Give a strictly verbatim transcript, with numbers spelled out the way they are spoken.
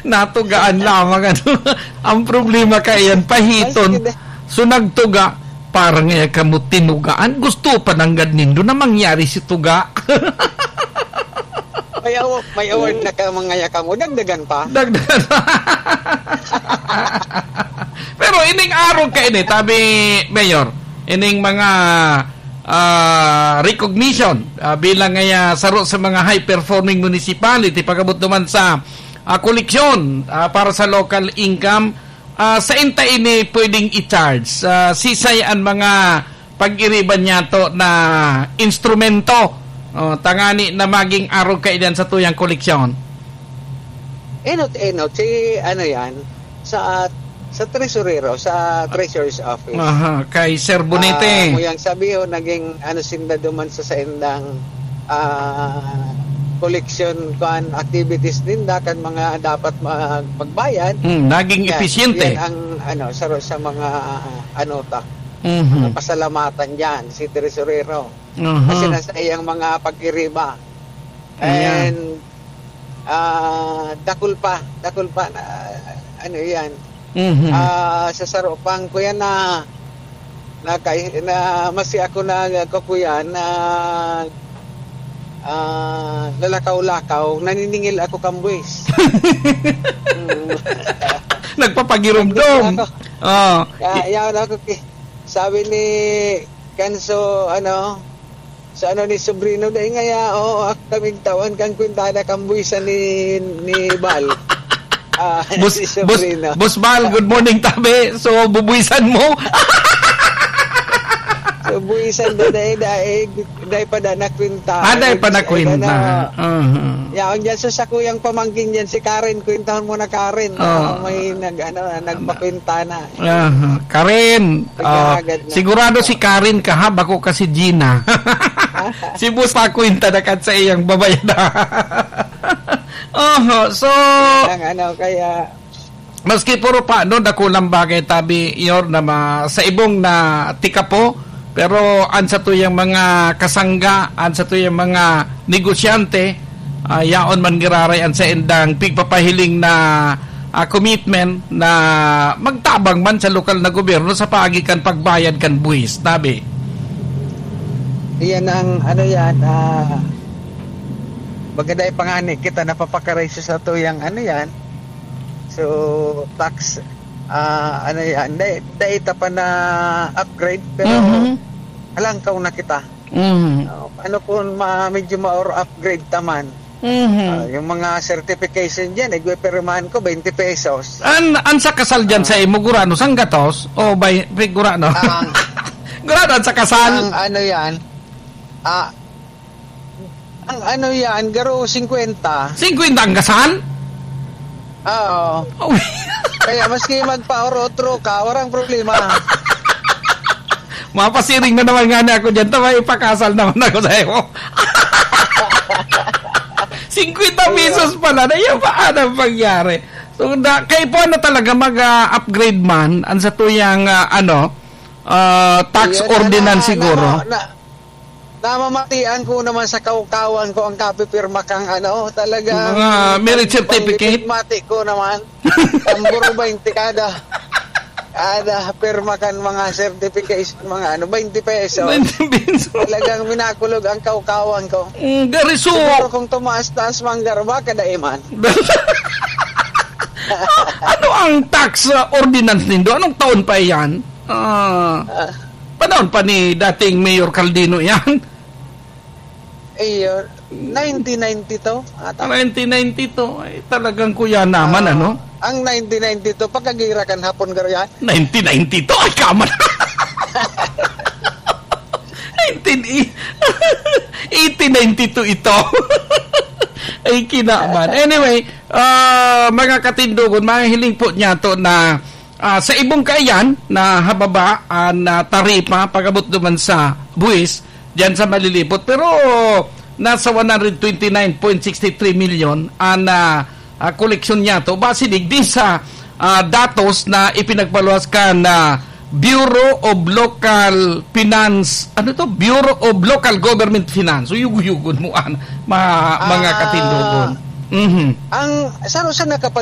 Natugaan lamang, ano. Ang problema kaiyan, pahiton. Maski na- So, nagtuga, parang, eh, kamo tinugaan. Gusto pa nanggad nindo na mangyari si tuga. May awa-, may award na ka, mga yakamo. Dagdagan pa. Dagdagan pa. Pero ining arog kaini, tabi, Mayor, ining mga, ah, recognition, ah, bilang, ah, saro sa mga high-performing municipality, pag-abot naman sa, ah, koleksyon, ah, para sa local income, ah, sain ta ini pwedeng i-charge? Ah, sisay an mga pag-iriba niyato na instrumento, oh, tangani na maging arog kaiyan sa tuyang koleksyon? Enot-enot, si ano yan, sa, sa tresurero, sa treasurer's office. Aha, kay Sir Bonete. Ah, mo yang sabihin, naging ano sinda duman sa saindang, ah, collection, kuan, activities ninda, kan mga dapat mag-, magbayad. Hmm, naging Yan, episyente. Yan ang, ano, sa, sa mga, ano, ta, Mhm. mga pasalamatan dyan, si tresurero. Aha. Kasi nasa iyang mga pag-iriba. Ayan. And, ah, dakul pa, dakul pa na, ano yan. Mhm. Ah, sa saro pang kuya na, na, kay-, na, masi ako na, kuya na, ah, lalakaw-lakaw, naniningil ako kambuis. Mm. Nagpapagirumdom. Nandun ako. Oh. Kaya, yan ako, ki-, sabi ni Kanso, ano, sa ano ni Sobrino, dai ngaya, oo, ako kaming tawan kan kwintada kan buwisan ni, ni Bal. Ah, Boss, si Boss, Sobrino. Boss Bal, good morning, tabi. So, bubuwisan mo? So, buwisan da, dai, dai, dai pa da na kwinta. Ah, dai pa na Ay, kwinta. Ano, Aha. yaon dyan sa sakuyang pamangkin dyan, si Karen, kwintahon mo na, Karen. Oo. Ah, may nag-, ano, nagpakwinta na. Aha. Karen, ah, Naghahagat na. sigurado si Karen ka, ha? Bako ka si Gina. Si Boss Paco yung tadakat sa iyang babayad. Oho, so, Ang ano, kaya maski puro pa, no, dakulang bagay, tabi, Yor, na ma-, sa ibong na tikapo, pero an sa tuyang mga kasangga, an sa tuyang mga negosyante, ah, yaon man giraray an saindang pigpapahiling na, ah, commitment na magtabang man sa lokal na gobyerno sa paagi kan pagbayad kan buwis, tabi. Iyan ang, ano yan, ah, maganda yung pangani kita napapakaray sa tuyang, ano yan. So, tax, ah, ano yan, dai, dai ta pa na upgrade, pero Mhm. halangkaw na kita. Mhm. Ah, ano kung ma-, medyo ma-or upgrade ta man? Mhm. Ah, yung mga certification dyan, igpipirmahan ko, twenty pesos. An, an sa kasal dyan Ah. sa imo, gurano, sanggatos? O bay-, gurano? Ang Gurano an sa kasal? Ang ano yan, ah, ang ano yan, garo singkwenta. Singkwenta ang kasal? Oo. Oh. Kaya maski magpa-or otro ka, walang problema. Mapasiring na naman nga ako dyan. Tama, ipakasal naman ako sa iyo. Singkwenta pesos pala. Na yan pa, anong pangyari? So, da, kay po ano talaga mag, ah, upgrade man, ang sa tuyang, ah, ano, ah, tax Yun, ordinance na, siguro. na, na, Namamatian ko naman sa kawkawan ko ang kapipirma kang ano, talagang Mga merit certificate? Mati ko naman. Tambor twenty kada. Kada pirma kan mga certification, mga ano, twenty pesos. Twenty pesos. Talagang minakulog ang kawkawan ko. Mm, gari so Siguro kung tumaas-taas man, garba, kadaiman. Ano ang tax, uh, ordinance nindo? Anong taon pa iyan? Ah, Ah. panahon pa ni dating Mayor Caldino yan? Iyo, nineteen ninety-two ata. Nineteen ninety-two, ay, talagang kuya naman, Ah, ano? ang nineteen ninety-two, pagkagira kan hapon garo yan? Nineteen ninety-two, ay, kaman. Nineteen, eighteen ninety-two ito. Ay, kinaman. Anyway, ah, mga katindogon, mga hiling po niya to na, ah, sa ibong kaiyan na hababa an, ah, taripa pag-abot duman sa buwis, diyan sa malilipot. Pero nasa one hundred twenty-nine point six three million an, ah, ah, koleksyon niya to. Base digdi sa, ah, datos na ipinagpaluwas kan, ah, Bureau of Local Finance, ano to? Bureau of Local Government Finance. So, yugo-yugon mo, an, ma-, mga Ah. katindogon. Mhm. Ang, sa, sa nakapag-